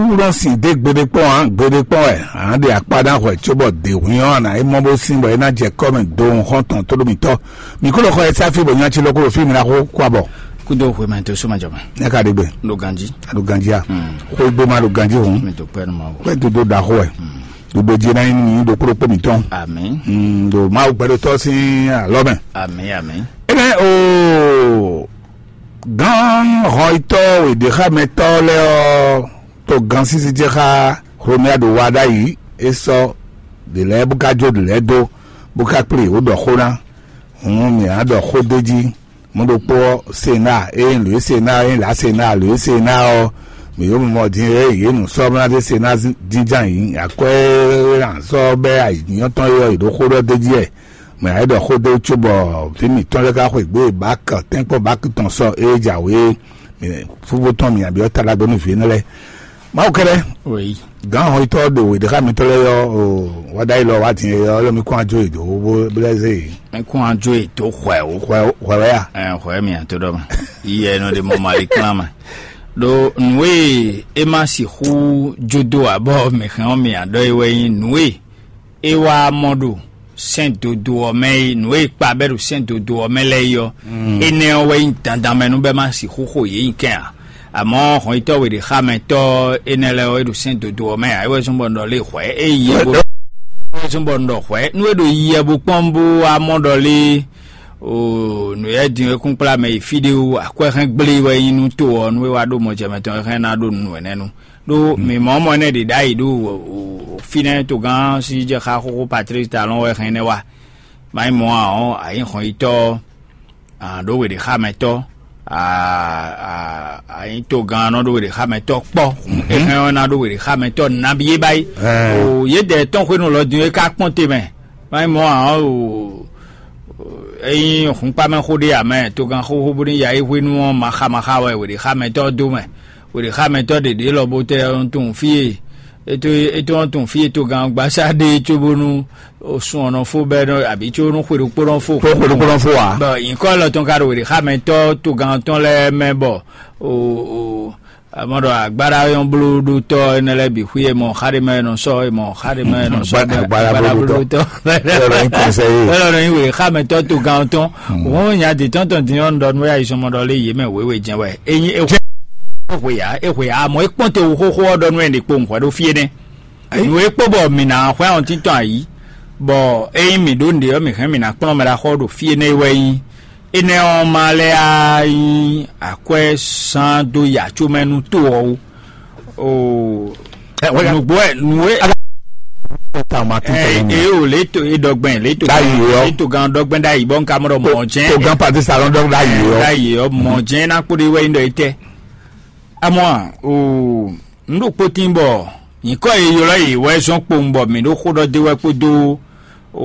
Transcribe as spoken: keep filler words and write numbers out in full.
Wúlɔ sin dé gbeɖé kpɔ́n ǎ, gbeɖé kpɔ́n wɛ ǎ ɖe akpá ná hwɛ cóbɔ dě hwín ɔ́ ná é mɔ bó sín bɔ é ná jɛ kɔ́ mɛ do hɔn tɔn tó ɖó mǐtɔn. Mǐ kó lɔ xɔ ɛ sáfí bɔ nyá ci lɔ kó ɖo fí mi ná xó kó abɔ. Kúdó hwemɛ tó suma jama. Nya ka ɖe gbe. Ɖo ganji. Aɖo ganji a. Xó gbé ma ɖo ganji hɔn. Mi tó pẹ́ nu ma wò. Pẹ́ dodo da xó ɛ. Dodo jí ná nyí ɖokpó ɖokpó mǐtɔn. Àmín. Ɖo Mawu gbɛɖotɔ́ sín alɔ mɛ. Àmín, àmín. Ebe o gán hɔnyitɔ́ wěɖéxámɛtɔ́ lɛ́ɛ ɔ́ to gán sísí ce xá Hlomia ɖo wa ɖ'ayǐ é sɔ́ ɖě lɛ́ɛ bó ka jó ɖě lɛ́ɛ dó bó ka kplé yě wó ɖɔ xó ná. Hǔn mǐ á ɖɔ xó d'é jí. Mɔ̌ ɖokpó ɔ́, Sena, ényí lǒ e Sena ényí lǎ Sena lǒ e Sena ɔ́, mǐ yǒ mɔ din e yě nǔ sɔ́ bó ná zé Sena jínján yǐ akwɛ́ e ná sɔ́ bɛ́ ayǐjínjɔ́n tɔn e ɔ́, yě ɖo xó ɖɔ d'é jí wɛ. Mɛ ǎ é ɖɔ xó dó cóbɔ vǐ mǐtɔn lɛ́ɛ ka xweyǐgbe bǎk tɛ́nkpɔ́n bǎk tɔn sɔ ée jǎwe é. Fúfú tɔn mǐ byɔ́ ta ɖagbe nú vǐ énɛ́ lɛ́ɛ. Mawu kɛ́ɖɛ́. Oui. Gǎn hɔnyitɔ́ ɖo wěɖéxámɛtɔ́ lɛ́ɛ ɔ́, wáɖáyí lɔ wá din é ɔ́, lɔ mí kún ajó yě dó bó blɛ́ zé yě. Mí kún ajó yě dó hwɛ̌ o. Hwɛ hwɛ wɛ ya? Ɛ hwɛ̌ mì ǎ tó ɖɔ mɛ. Yiyɛ nɔ ɖe mɔ mali klán mɛ. Ɖo nǔ e é ma sixú jó dó ǎ bɔ mǐ hɛn ɔ́ mì ǎ ɖɔ é wɛ nyí nǔ e é wá mɔ ɖo sɛ́n dodo ɔ́ mɛ é, nǔ e kpa bɛ́ ɖo sɛ́n dodo ɔ́ mɛ lɛ́ɛ é ɔ́, énɛ́ ɔ́ wɛ nyí dandan mɛ nú bɛ́ má sixú xo yě nyi kɛn ǎ. Amɔ̌ hɔnyitɔ́ we ɖě xá mɛ tɔ́ énɛ́ lɛ́ɛ ɔ́, é ɖo sɛ́n dodo ɔ́ mɛ ǎ. É wɛ zɔ́n bɔ un ɖɔ lé hwɛ̌, é yi yɛ bó é wɛ zɔ́n bɔ un ɖɔ hwɛ̌. Nú é ɖo yi yɛ bó kpɔ́n bó wá mɔ ɖɔ lé o nǔ yɛ din e kún kplá mɛ yi fí ɖé wú akwɛ́ hɛn gblé wɛ nyí nú to ɔ́, nú é wá ɖó mɔjɛmɛ tɔn é hɛn ná ɖó nǔ énɛ́ nu. Ɖó mǐ mɔ mɔ énɛ́ ɖě ɖ'ayǐ ɖo fínɛ́ togán sí jɛ xá xóxó Patrice Talon wɛ hɛn énɛ́ wá. Má nyí mɔ̌ ǎ ɔ́, a nyǐ hɔnyitɔ́, a ɖǒ we ɖě xá mɛ tɔ́, a nyǐ togán nɔ ɖó we ɖě xá mɛ tɔ́ kpɔ́. É hɛn ɔ́ ná ɖó we ɖě xá mɛ tɔ́ nabí é báyìí. O yědɛɛ tɔn xwénu lɔ din é ká kpɔ́n te mɛ. Má nyí mɔ̌ ǎ ɔ́, o ényí hǔnkpámɛxó ɖé ǎ mɛ, togán xóxó bó ní ya é hwénu ɔ́, maxa maxa wɛ we ɖě xá mɛ tɔ́ dó mɛ. Wěɖéxámɛtɔ́ ɖě ɖě lɔ bó tɛ ɔ́ tunwun fí e é tó é tó ɔ́ tunwun fí e togán gbasá ɖe cóbónú sun ɔ́ nɔ fó bɛ́ nɔ abǐ có nú xwe ɖokpó nɔ fó. Tó xwe ɖokpó nɔ fó ǎ. Bɔ nyǐkɔ lɔ tɔn ka ɖo wěɖéxámɛtɔ́ togán tɔn lɛ́ɛ mɛ bɔ o o amɔ ɖɔ agbára nyɔ́ blóɖótɔ́ énɛ́ lɛ́ɛ bǐ xwí e mɔ xá ɖé mɛ nɔ sɔ́ e mɔ xá ɖé mɛ nɔ sɔ́ Agbára agbára blóɖótɔ́. Blóɖótɔ́. Bɛ́ lɔ nyí kɔnsɛ́ yé. Bɛ́ lɔ nɔ nyí wěɖéxámɛtɔ́ togán tɔn. Òun nya dě tɔn tɔn din ɔ́ nɔ ɖɔ nú wɛ ayizɔ́mɔ ɖɔ lé yě mɛ wěwe jɛ́n wɛ. Ényí é hwe ǎ, é hwe ǎ, amɔ̌ é kpɔ́n te wú xóxó ɔ́ ɖɔ nú wɛ ɖě kpowun hwɛ ɖó fí énɛ́. Nǔ e kpó bɔ mǐ ná xwlɛ́ wɔn títɔn ayǐ, bɔ ényí mǐ ɖó nǔɖé ɔ́, mǐ hɛn mǐ ná kplɔ́n mɛ ɖaxó ɖo fí énɛ́ wɛ nyí. Énɛ́ ɔ́ ma lɛ́ á nyí akwɛ́ zán dó yi acó mɛ nú to ɔ́ ó. Oo. Nǔgbó wɛ nǔ e. Eye o lě to e ɖɔgbɛn lě to Ɖ'ayǐ ɔ́. Lě to gan ɖɔgbɛn ɖ'ayǐ bɔ n ka mɔ ɖɔ mɔ jɛn. Togán Patrice Talon ɖɔ ɖ'ayǐ ɔ́. Ɖ'ayǐ ɔ́ mɔ jɛn ná kpó ɖe wɛ nyí ɖɔ é tɛ. Amɔ o n ɖo kpótín bɔ nyǐkɔ e ylɔ́ yě wɛ zɔn kpowun bɔ mǐ ɖo xó ɖɔ dé wɛ kpódó o